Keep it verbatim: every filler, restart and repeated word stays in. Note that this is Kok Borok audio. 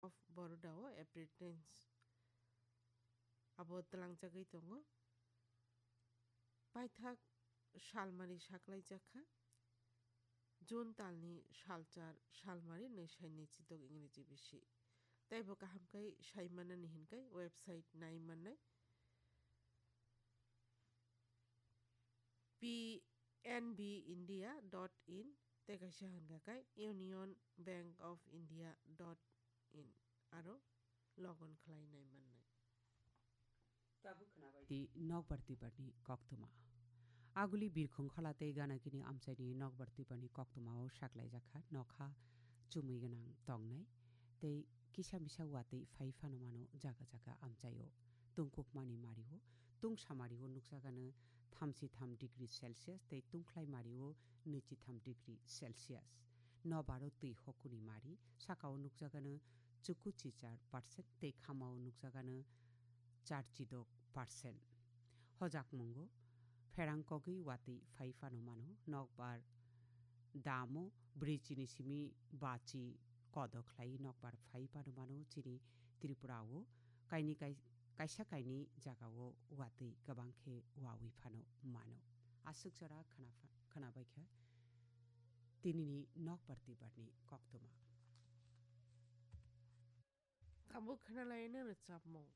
of Baroda o April tenth abo twlangjagwi tongo. Paithak salmari saklaijak kha. June talni salchar salmari nwi sai nwi chidok Ingreji bisi. Tei bo kaham khe sai manani hinkai website nai mannai. P N B India dot in tei kaisa hwnkha khe Union Bank of India dot in aro log on khlai nai mannai. Tabuk khwnabai di Nokbar Tiparni koktwma. Aguli birkhong khola tei ganagini amchaini Nokbar Tiparni koktwmao saklaijak kha nokha chumui gwnang tongnai tei kisa misa watwi phai phano mano jaga jaga amchaio. Tungkukmani mario, tungsa mario nukjagano thamchi tham degree Celsius tei tungkhlai mario nwichi tham degree Celsius. Nobaro twi hokuni mari, sakao nukjagano chuku chichar percent tei khamao nukjagano char chidok percent. Hojakmungo pherang kogwi watwi phai phano mano, nokbar damo brwi chini simi bachi kodo khlai nokbar phai phano mano chini Tripura o kaini kai-, kaisa kaini jaga o watwi kwbang khe wawi phano mano. Aswk jora khna pha-, khnabai kha tinini Nokbar Tiparni koktwma. Tabuk khwnalaina rwchapmung.